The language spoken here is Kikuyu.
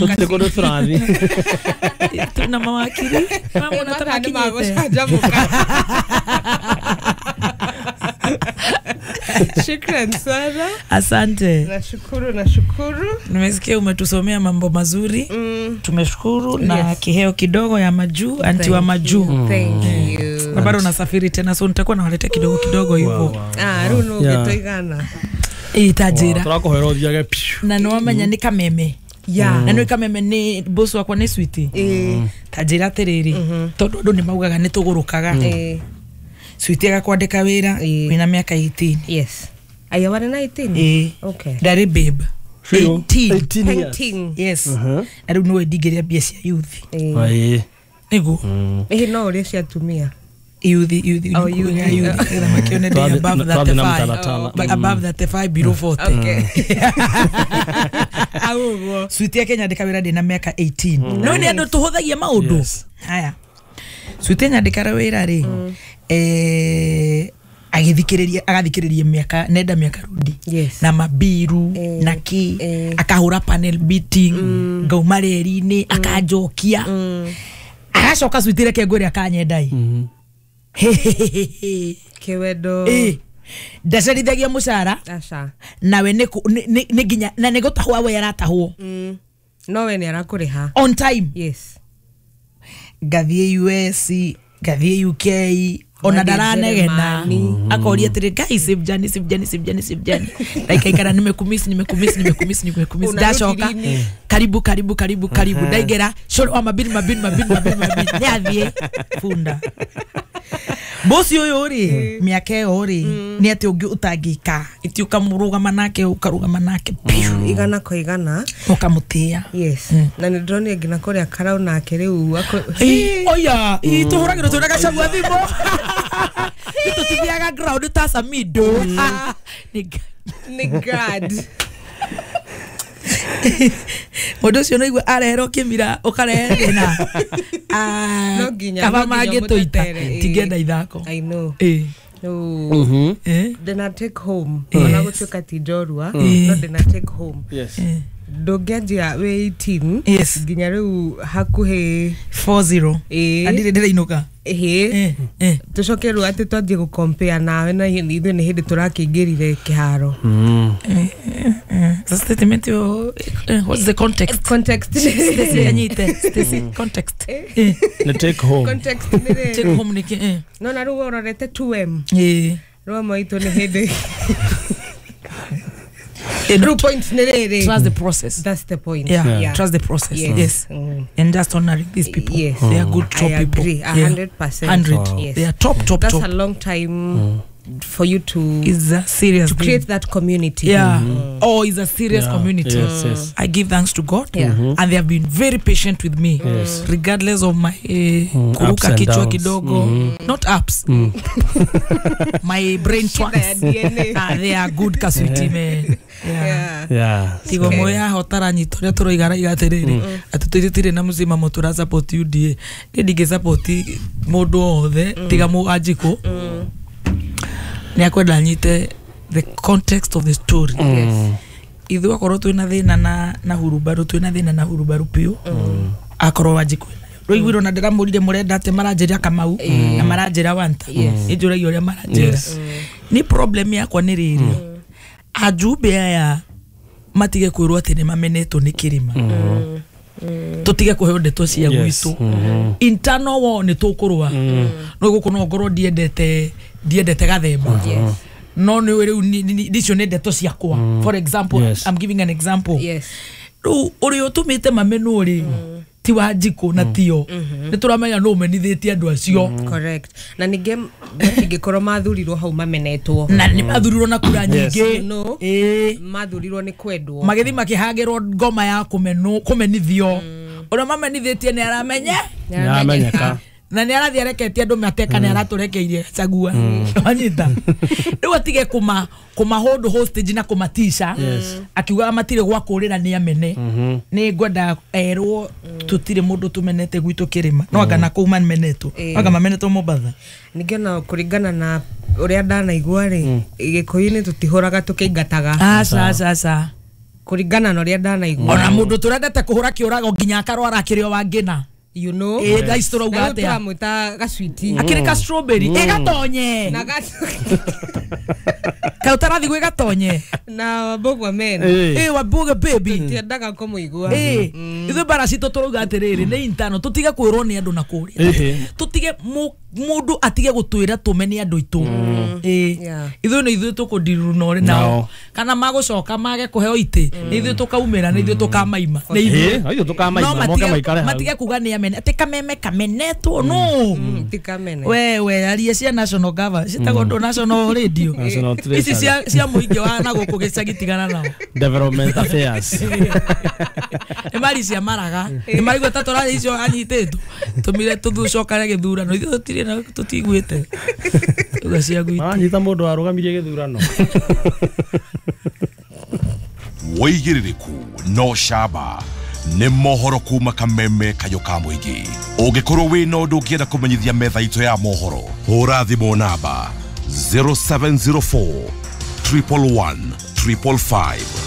Tũtirĩ kũndũ tũrathiĩ. Tuna mawakiri mamona Mathaa nĩ tamakinyĩte. magũcanjamũka. Shukran sana. Asante. Nashukuru, nashukuru. Nimesikia umetusomea mambo mazuri. Tumeshukuru na Yes. kiheo kidogo ya majuu, anti wa Thank majuu. you. Thank you. Na bado nasafiri tena, so nitakuwa nawaletea kidogo kidogo hivyo. Wow, wow. Ah, rĩu nũ Yeah. ũngĩtũigana. Itajira. Tũrakũhoera ũthiage piu. Na nĩwamenya nĩ kameme. Yeah. Na nĩ kameme nĩ boss wakwa nĩ switi. Ĩĩ. Tanjĩra atĩrĩrĩ, tondũ andũ nĩ maugaga nĩ tũgũrũkaga. Ĩĩ. Switi agakwandĩka wĩra Ĩĩ. wĩna mĩaka 18. Yes. Aya warĩ na 18? Ĩĩ. Okay. Ndarĩ babe. 18. 18 years. Painting. Yes. Na rĩu nĩwe ndingĩrĩa mbia cia youth. Ĩĩ. Ĩĩ. Nĩguo. Ĩhĩ no ũrĩa cia atumia. Youth, youth, Oh, youth. youth, youth. Nĩgetha makĩone ndĩ above Twathiĩ na 35. mũtaratara. But above 35 below 40. Okay. Au ũguo. Switi ya Kenya ndĩka wĩra ndĩna mĩaka 18. No nĩ andũ tũhũthagia maũndũ. Yes. Haya. Switi nyandĩkara wĩra rĩ, agĩthikĩrĩria agathikĩrĩria mĩaka nenda mĩaka rudi Yes. na mabiru Eh, na kĩ eh. akahũra panel beating ngauma reri-inĩ akanjokia agacoka switi reke ngwĩre akanyendai. Kĩwendo. Ĩ, ndacerithagia mũcara Aca. nawe nĩ nĩ nginya na nĩ gũtahwo we aratahwo. No we nĩ arakũrĩha. On time. Yes. Ngathiĩ US, ngathiĩ UK, ona Ngathiĩ ndaranegena. Jeremani. Akoria atĩrĩ, guys, save journey, save journey, save journey, save journey, ndaikaikara nimekumiss, nimekumiss, nimekumiss, nimekumiss. Unarudi Ndacoka lini? karibu, karibu, karibu, karibu, ndaingĩra cũrũ wa mabini, mabini, mabini, mabini, mabini, nĩ athiĩ bunda bosi ũyũ rĩ, mĩaka ĩyo rĩ, nĩ atĩ ũngĩ ũtangĩka iti ũkamũrũgama nake, ũkarũgama nake piũ. Igana kwa igana. Ũkamũtĩĩa. Yes. Na nĩ ndĩronire nginya kũrĩa karau nake rĩu Ĩ, oya, ĩ, tũhũragĩrwo twĩna gacagua thimũ. Nĩ tũtithiaga ground ta Samido. Ah, Nĩ God. Mũndũ ũcio no igua areherwo kĩmira ũkarehe thĩna. Ah, No nginya- kaba no nginya mangĩtũita ũmũtetere, ĩ. tingĩenda ithako. I know. Ĩ, Rĩu ĩ, ndĩna take home. Yes. Ona gũtuĩka ti njorua, no ndĩna take home. Yes. Ĩ. Ndũngĩanjia wĩ 18 Yes. nginya rĩu hakuhĩ 40. Ĩ. Andirĩ ndĩrainũka. Ĩhĩ. Ĩ, ĩ. Tũcoke rĩu atĩ twanjie gũkompea nawe na ithuĩ nĩ hĩndĩ tũrakĩingĩrire kĩharo. Ĩ, ĩ. So statement ĩyo, what's the context? Context. Stacy anyite Stacy, context. Ĩ, Nĩ take home. Context nĩ rĩrĩ. Take home nĩkĩ? Ĩ. No na rĩu ũrorete 2M. Ĩ. Rĩu amwe aitũ nĩ hĩndĩ Ĩ, rĩu point nĩ rĩrĩ. Trust the process. That's the point. Yeah, Yeah. trust the process. Yes. Yes. And just honoring these people. Yes. They are good top I people. agree, a Yeah. 100%. 100. Yes. They are top, top, That's top. a long time for you to It's a serious to thing. create that community. Yeah. Oh, it's a serious Yeah. community. Yes, yes. I give thanks to God. Yeah. And they have been very patient with me. Yes. Regardless of my Ups kuruka and kichwa downs. kidogo. Not ups. My brain Shida ya twice. DNA. Ah, they are good kaswiti man. Yeah. Yeah. Yeah. Tigo moya hotara nyita ũrĩa tũroiga raiga atĩrĩrĩ, atĩ tũtirĩ na mũcimamo tũra support UDA. Niĩ ndingĩ support mũndũ o wothe tiga Wanjikũ nĩ akwenda nyite the context of the story. Yes. Ithuĩ akorwo twĩna thĩna na hurubaru, twĩna thĩna na hurubaru piũ, akorwo Wanjikũ enayo rũiguirwo na ndĩramũrire mũrenda atĩ maranjĩra Kamau na maranjĩra Wanta, nĩnjũragia ũrĩa maranjĩra. Yes. Ni problem yakwa nĩ rĩrĩ, ajumbe aya matige kwĩrwo atĩ nĩ mamenetwo nĩ kĩrĩma, tũtige kũheo ndeto cia Yes. gwitũ. Internal war nĩ tũkũrũa, no gũkũ no ngorwo ndiendete gathemba. Yes. No nĩ rĩu icio nĩ ndeto ciakwa, for example. Yes. I'm giving an example. Yes. Rĩu ũrĩa ũtũmĩte mamenwo rĩ ti Wanjikũ na tio nĩ tũramenya nũ ũmenithĩtie andũ acio. Correct. Na ningĩ matingĩkorwo mathurirwo hau mamenetwo. Na nĩ mathurirwo na kura nyingĩ. No. Ĩĩ. Mathurirwo nĩ kwendwo. Magĩthiĩ makĩhangĩrwo ngoma ya kũmenwo kũmenithio, ũrĩa mamenithĩtie nĩ aramenya. Nĩaramenyeka. Na nĩ arathiĩ areketie andũ mateka, nĩ aratũrekeirie Gachagua, wanyita? Rĩu atige kũma hold hostage na kũmatisha. Yes. Akiugaga matirĩ gwa kũrĩra nĩ amene. Nĩ ngwenda erwo tũtirĩ mũndũ tũmenete gwitũ kĩrĩma, no anga na kũu mamenetwo. Ĩĩ. Anga mamenetwo Mombatha. Ningĩ ona kũringana na ũrĩa ndanaigua rĩ, gĩkũyũ-inĩ tũtihũraga tũkĩingataga. Aca, aca, aca. Kũringana na ũrĩa ndanaigua. Ona mũndũ tũrendete kũhũra kĩũrago nginya akarwara akĩrĩ o wangĩna. You know. Ĩ thaa ici tũrauga Na rĩu atĩa? tũramwĩta gacwiti. Akĩrĩ ka strawberry ĩgatonye. Na Kaĩ ũtarathi gwĩ gatonye? Na Mbũgua men. Eh. Ĩ Wambuga baby. Tiendaga kũmũigua. Ĩ ithuĩ mbara citũ tũrauga atĩrĩrĩ nĩ intano tũtige kwĩrwo nĩ andũ na kũrĩa. Ĩhĩ. Tũtige mũndũ atige gũtwĩra tũmene andũ aitũ. Ĩ Yeah. ithuĩ nĩ ithuĩ tũkũndiruna ũrĩ nao. Nao. Kana magũcoka mage kũheo itĩ nĩ ithuĩ tũkaumĩra, nĩ ithuĩ tũkamaima, nĩ ithuĩ. Ĩ, ithuĩ tũkamaima, No moke maikare hau. matige kuga nĩ amene atĩ kameme kamenetwo no. Ti kamene. We aria cia national gava citagwo ndũ national radio. National Ici Treasury. cia mũingĩ wa na gũkũ gĩcagi tigana nao. Development affairs. Nĩ mari cia maraga nĩ marigua ta tũrarĩ icio anyitĩtwo tũmire tũcokare gĩthurano ithuĩ tũtirĩ na tũtiguĩte uga cia gwitũ. Maranyita mũndũ warũgamirie gĩthurano. Wĩigĩrĩrĩku no camba nĩ mohoro kuma kameme kayũ ka mũingĩ. Ũngĩkorwo wĩna ũndũ ũngĩenda kũmenyithia metha itũ ya mohoro, hũra thimũ namba 0704 111 555.